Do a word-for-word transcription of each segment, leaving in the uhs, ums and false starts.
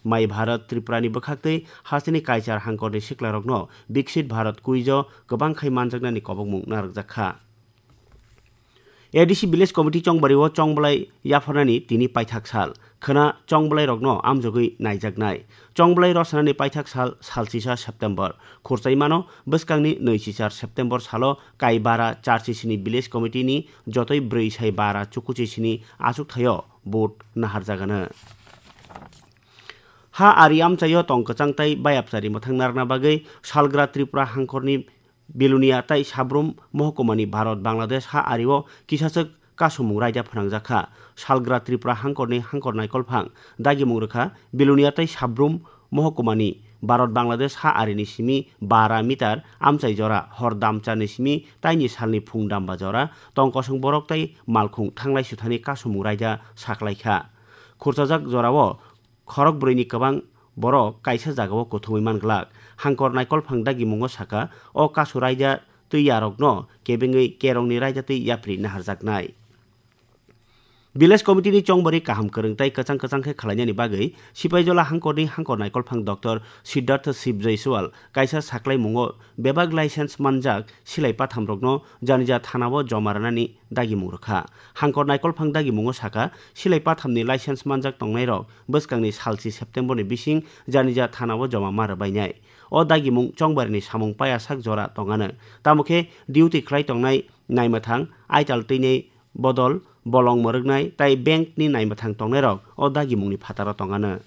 My Bharat Tripura ni bwkhaktwi hasteni kaichar hangkorni siklarokno Viksit Bharat quiz o kwbang khai manjaknani kobokmung narwkjak kha. A D C Village Committee Chongbari o chongbolai yapharnani tini paithak sal. Khwna chongbolai rokno amjogwi naijaknai. Chongbolai rwchanani paithak sal, sal chisa September. Khurchai mano bwskangni nwi chichar September salo Kaibara char chisini Village Committee ni jotoi brwi sai bara chukuchi sini achuk thaio vote naharjagano. Ha ari amchaio tong kwchang tai bayapchari mwthang narwkna bagwi salgra Tripura hangkhorni Bilonia tai Sabrum mohkumani Bharat Bangladesh ha ario kisachwk kasumung raida phnangjak kha. Salgra Tripura hangkorni hangkor naikolphang dagimung rwkha Bilonia tai Sabrum mohkumani Bharat Bangladesh ha arini simi bara meter amchai jora hor damcharni simi taini salni phung damba jora tong kosong borok tai malkhung thanglai suthani kasumung raida saklaikha. Khurchajak jorao khorok brwini kwbang borok kaisa jagao kuthumwi man glak. Hangkor naikolphang dagimungo saka, o kasu raida twi yarokno kebengwi kerongni raida twi yapri naharjaknai. Village Committee ni chongbari kaham kwrwng tai kwchang kwchang khe khwlainani bagwi Sipaijola hangkorni hangkor naikolphang Doctor Siddhartha Shiv Jaiswal kaisa saklaimungo bebak license manjak silai pathamrokno janija thanao joma rwnani dagimung rwkha. Hangkor naikolphang dagimungo saka, silai pathamni license manjak tongnairok bwskangni salchi September ni bising janija thanao joma ma rwbainai. O dagimung chongbarini samung payasak jora tongano. Tamo khe duty khlai tongnai naimwthang, aital twinai bodol, bolong mwrwknai tai bank ni naimwthang tongnairok o dagimungni phataro tongano.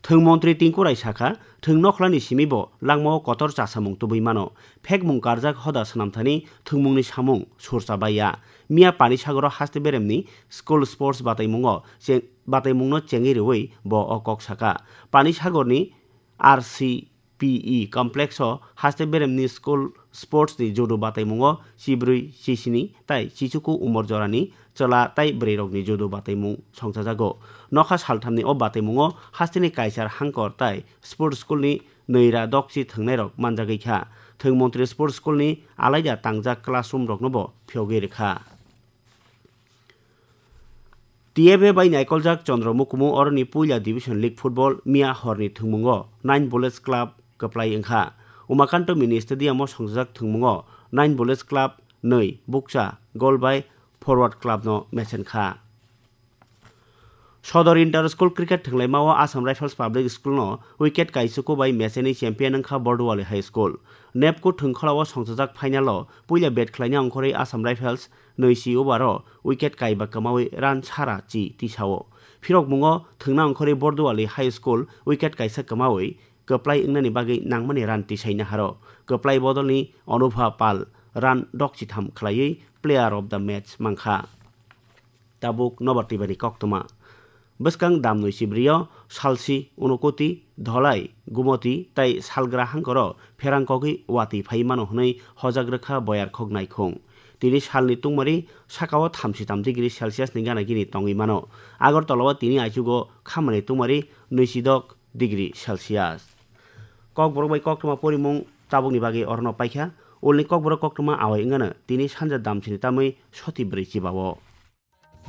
Thwng montri Tinku Rai sakha, thwng nokhlani simi bo langmao kotor chasamung tubui mano. Phekmung karjak hoda swnamthani thwngmungni samung surcha bai ya. Miya Panisagoro haste beremni school sports bataimungo che-, bataimungno chengwi rwui bo o kok sakha. Panisagorni R C P E complex o haste beremni school sports ni judo bataimungo chibrwi, chisini tai chichuku umor jorani chwla tai bwrwirokni judo bataimung songchajago. Nokha salthamni o bataimungo hasteni kaichar hangkor tai sports school ni nwira dokchi thwngnairok manjagwi kha. Thwng montri sports school ni alaida tangjak classroom roknobo phiyogwi rwkha. T F A bai naikoljak Chandra Mukumu oroni puila Division League Football miya horni thwngmungo Nine Bullets Club kwplai wngkha. Umakanto Mini Stadium o songchajak thwngmungo Nine Bullets Club nwi bukcha goal bai Forward Club no mechen kha. Sodor Inter School Cricket thwnglaimao Assam Rifles Public School no wicket kaichuku bai mecheni champion wngkha Borduali High School. Nepku thwngkholao songchajak final o puila bat khlaina ongkhorwi Assam Rifles nwi si over o wicket kaiba kwmawi run sara chi tisao. Phirokmungo thwngna ongkhorwi Borduali High School wicket kaisa kwmawi kwplai wngnani bagwi nangmani run tisai naharo. Kwplai bodolni Anubha Pal run dokchitham khlaiwi player of the match mankha. Tabuk nobar twibani koktwma. Bwskang damnwi chibrio salsi, Unakoti, Dholai, Gumoti tai salgra hangkoro pherang kogwi watwi phai mano hwnwi hojak rwkha Boyarkhok naikhung. Tini salni tungmari sakao thamsi tam degree Celsius ni gana gini tongwi mano. Agartala o tini aichugo khamani tungmari nwisidok degree Celsius. Kokborok bai koktwma porimung tabukni bagwi orono paikha. Ulni kokborok koktwma awai wngano tini sanja damsini tamwi soti bwrwi chibao.